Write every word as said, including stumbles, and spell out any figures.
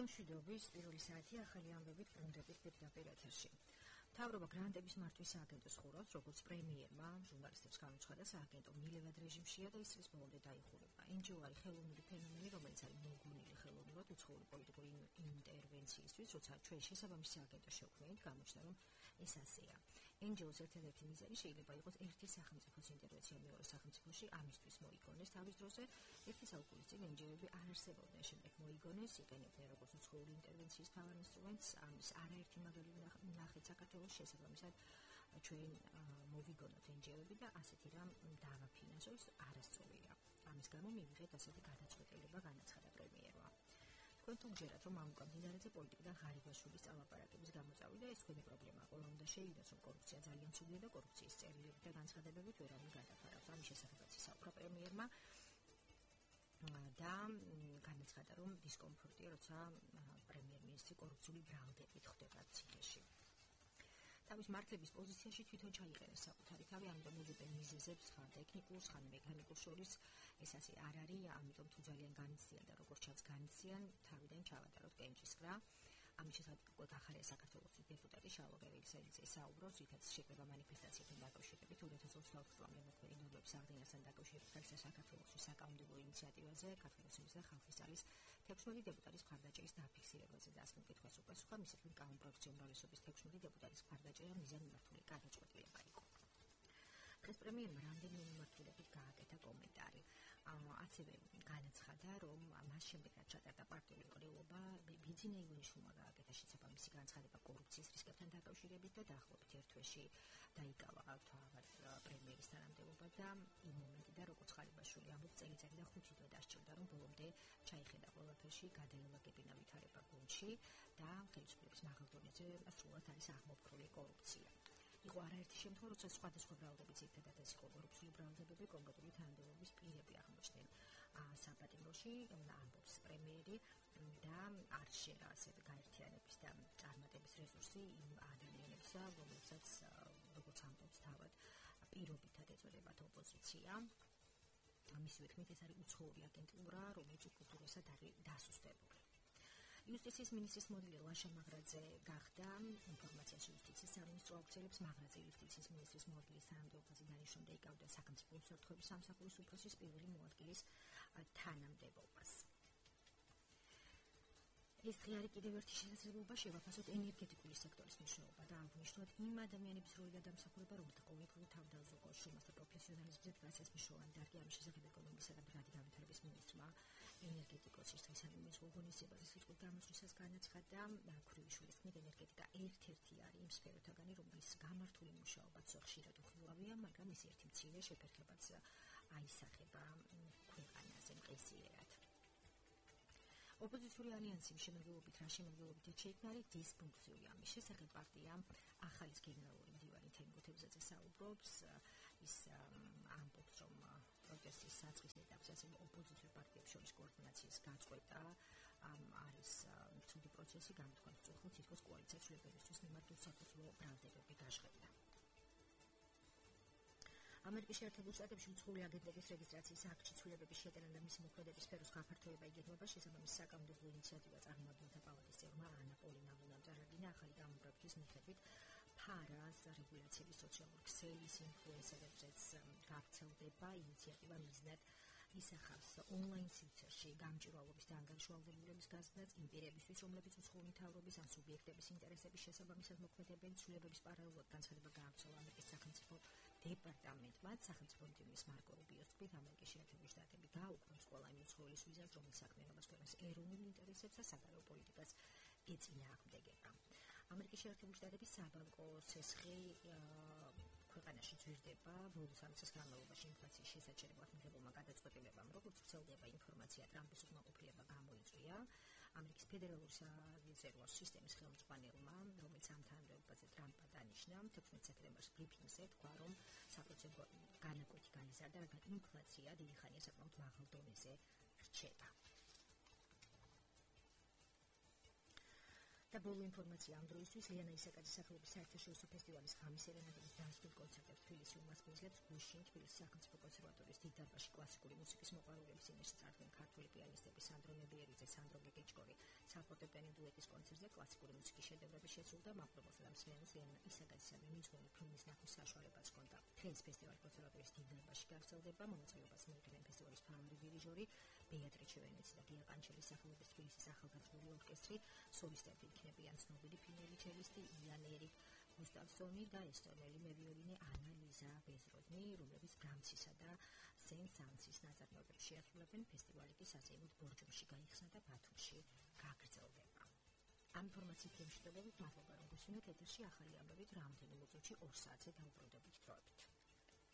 ფილმშვიდობის პირველი საათი ახალი ამბებით ბრუნდებით პირდაპირ ეთერში. მთავრობა გრანტების მართვის სააგენტოს ხურავს, როგორც პრემიერმა ჟურნალისტებს გამოცხადა, სააგენტო მილევად რეჟიმშია და ის წლის ბოლომდე დაიხურება. εν ჯი ო არის ხელოვნური ფენომენი, რომელიც არის მოგონილი ხელოვნურად უცხოური პოლიტიკური ინტერვენციისთვის, როცა ჩვენ შესაბამისი სააგენტო შევქმნით, გამოჩნდა, რომ ეს ასეა. εν ჯი ოს ერთადერთი მიზანი შეიძლება იყოს ერთი სახელმწიფოს ინტერვენცია მეორე სახელმწიფოში, ამისთვის მოიგონეს. თავის დროზე ერთი საუკუნის წინ εν ჯი ოები არ არსებობდნენ, შემდეგ მოიგონეს, იყენებდნენ როგორც უცხოური ინტერვენციის მთავარ ინსტრუმენტს, ამის არაერთი მაგალითი ნახეთ საქართველოს შესაბამისად ჩვენ მოვიგონოთ εν ჯი ოები და ასეთი რამ დავაფინანსოს არასწორია. ამის გამო მივიღეთ ასეთი გადაწყვეტილება, განაცხადა პრემიერმა. თქვენ თუ გჯერათ, რომ ამ უკანდინარეზე პოლიტიკიდან ღარიბაშვილის წამაპარაკების გამოწავიდა, ეს თქვენი პრობლემაა. ყველა უნდა შეიგნოს, რომ კორუფცია ძალიან ცუდია და კორუფციის წერილებით და განცხადებებით ვერავინ გადაფარავს. ამის შესახებაც ისაუბრა პრემიერმა და განაცხადა, რომ დისკომფორტია, როცა პრემიერ-მინისტრი კორუფციული ბრალდებით ხვდება ციხეში. თავის მართლების პოზიციაში თვითონ ჩაიყენეს საკუთარი თავი, ამიტომ უძებენ მიზეზებს ხან ტექნიკურს, ხან მექანიკურს შორის. ეს ასე არ არის, ამიტომ თუ ძალიან განიცდიან და როგორც ჩანს განიცდიან, თავიდან ჩავატაროთ კენჭისყრა. ამის შესახებ უკვე გახარია საქართველოს დეპუტატი შალვა გერგელაძე საუბრობს, რითაც შეკრება მანიფესტაციებთან დაკავშირებით two thousand twenty-four წლამდე მოქმედი ნორმების აღდგენასთან დაკავშირებით საქართველოს საკანონმდებლო ინიციატივაზე, საქართველოს მისთა ხალხის ძალის თექვსმეტი დეპუტატის მხარდაჭერის დაფიქსირებაზე და ასმ კითხვას უპასუხა, მის თქმით, კანონპროექტის უმრავლესობის თექვსმეტი დეპუტატის მხარდაჭერა მიზანმიმართული გადაწყვეტილება იყო. დღეს პრემიერმა რამდენიმე მიმართულებით გააკეთა კომენტარი. ასევე განაცხადა, რომ მას შემდეგ რაც ჩატარდა პარტიული ყრილობა, ბიძინა ივანიშვილმა გააკეთა შესაბამისი განცხადება კორუფციის რისკებთან დაკავშირებით და დაახლოებით ერთ თვეში დაიკავა თავად პრემიერის თანამდებობა და იმ მომენტიდან, როგორც ხარიბაშვილი ამბობს, წელიწადი და ხუთი თვე დასჭირდა, რომ ბოლომდე ჩაიხედა ყველაფერში, გადაელაგებინა ვითარება გუნდში და ხელისუფლების მაღალ დონეზე სრულად არის აღმოფხრული კორუფცია. იყო არაერთი შემთხვევა, როცა სხვადასხვა ბრალდები, ძირითადად ეს იყო კორუფციული ბრალდებები, კონკრეტული თანამდებობის პირები აღმოჩნდნენ საპატიმროში, ამბობს პრემიერი და არ შეერა ასევე გაერთიანების და წარმატების რესურსი იმ ადამიანებისა, რომლებსაც როგორც ამბობს თავად პირობითად ეწოდებათ ოპოზიცია. მისივე თქმით, ეს არის უცხოური აგენტურა, რომელიც კულტურასად არის დასუსტებული. იუსტიციის მინისტრის მოდელი ლაშა მაღრაძე გახდა ინფორმაციაში იუსტიციის სამინისტრო აუქცელებს მაღრაძე იუსტიციის მინისტრის მოდელის თანამდებობაზე დანიშნულ და იკავდა სახელმწიფო უსაფრთხოების სამსახურის უფროსის პირველი მოადგილის თანამდებობას. ეს დღე არის კიდევ ერთი შესაძლებლობა შევაფასოთ ენერგეტიკული სექტორის მნიშვნელობა და აღვნიშნოთ იმ ადამიანების როლი და დამსახურება, რომელთა ყოველდღიურ თავდაზოგოს შრომას და პროფესიონალიზმზე დგას ეს მნიშვნელოვანი დარგი. ამის შესახებ ეკონომიკისა და ბრალი განვითარების მინისტრმა ენერგეტიკოსის დღესდღეობის ღონისძიებაზე სიტყვით გამოსვლისას განაცხადა, ქურივიშვილის თქმით, ენერგეტიკა ერთ-ერთი არის იმ სფეროთაგანი, რომლის გამართული მუშაობაც ხშირად უხილავია, მაგრამ ის ერთი მცირე შეფერხებაც აისახება ქვეყანაზე მყისიერად. ოპოზიციური ალიანსის შემადგენლობით რა შემადგენლობით შეიქმნა არის დისფუნქციური. ამის შესახებ პარტიამ ახალის გენერალური მდივანი თემი თევზაძე საუბრობს, ის ამბობს, რომ პროტესტის საწყის ეტაპზე ასევე ოპოზიციურ პარტიებს შორის კოორდინაციის გაწყვეტა არის ცუდი პროცესი, გამოთქვამს სწორხილ თითქოს კოალიციას ცვლილებებისთვის მიმართ უსაფრთხო ბრალდებები გაჟღერდა. ამერიკის შეერთებულ შტატებში უცხოური აგენტების რეგისტრაციის აქტში ცვლილებების შეტანა და მისი მოქმედების სფეროს გაფართოება იგეგმება. შესაბამისი საკანონმდებლო ინიციატივა წარმომადგენელთა პალატის წევრმა ანა პოლინა ლუნამ წარადგინა. ახალი კანონპროექტის მიხედვით ფარას რეგულაციების სოციალური ქსელის ინფლუენსერებზეც გავრცელდება. ინიციატივა მიზნად ისახავს ონლაინ სივრცეში გამჭვირვალობის და ანგარიშვალდებულების გაზრდას იმ პირებისთვის, რომლებიც უცხოური მთავრობის ან სუბიექტების ინტერესების შესაბამისად მოქმედებენ. ცვლილებების პარალელურად განცხადება გაავრცელა ამერიკის სახელმწიფო დეპარტამენტმა. სახელმწიფო ინტიმის მარკო რუბიოს თქმით, ამერიკის შეერთებული შტატები გააუქმებს ყველა იმ უცხოელის ვიზას, რომელიც საქმიანობას ქვეყნის ეროვნულ ინტერესებს და საგარეო პოლიტიკას ეწინააღმდეგება. ამერიკის შეერთებული შტატების საბანკო ცესხი ქვეყანაში ძვირდება. ბოლოს ამის განმავლობაში ინფლაციის შესაჩერებლად მიღებულმა გადაწყვეტილებამ, როგორც ვრცელდება ინფორმაცია, ტრამპის უკმაყოფილება გამოიწვია. ამერიკის ფედერალური სარეზერვო სისტემის ხელმძღვანელმა, რომელიც ამ თანამდებობაზე ტრამპმა დანიშნა, თექვსმეტ სექტემბერს ბრიფინგზე თქვა, რომ საპროცენტო განაკვეთი განიზარდა, რადგან ინფლაცია დიდი ხანია საკმაოდ მაღალ დონეზე რჩება. და ბოლო ინფორმაცია ამ დროისთვის ლიანა ისაკაძის სახელობის საერთაშორისო ფესტივალის ღამის სერენადების დასრულ კონცერტებს თბილისში უმასპინძლებს გუშინ თბილისის სახელმწიფო კონსერვატორიის დიდ დარბაზში კლასიკური მუსიკის მოყვარულების წინაშე წარდგენ ქართველი პიანისტები სანდრო ნებიერიძე, სანდრო გეგეჭკორი, საფორტეპიანო დუეტის კონცერტზე კლასიკური მუსიკის შედევრები შესრულდა მამპრობელსა და მსმენელს ლიანა ისაკაძის მიძღვნილი ფილმის ნახვის საშუალებაც ჰქონდა. დღეს ფესტივალის კონსერვატორიის დიდ დარბაზში გაგრძელდება მონაწილეობას მიუღებენ ფესტივალის მთავარი დირიჟორი ბეატრიჩე ვენეცი და გია კანჩელის სახელობის თბილისის ახალგაზრდული ორკესტრი, სოლისტები იქნებიან ცნობილი ფინელი ჩელისტი იან ერიკ გუსტავსონი და ესტონელი მევიოლინე ანა ლიზა ბეზროდნი, რომლებიც ბრამსისა და სენ-სანსის ნაწარმოებებს შეასრულებენ. ფესტივალი კი საზეიმოდ ბორჯომში გაიხსნა და ბათუმში გაგრძელდება. ამ ინფორმაციით შემშვიდობებით მადლობა, რომ გვისმინეთ ეთერში ახალი ამბებით რამდენიმე წუთში ორ საათზე დაუბრუნდებით დროებით.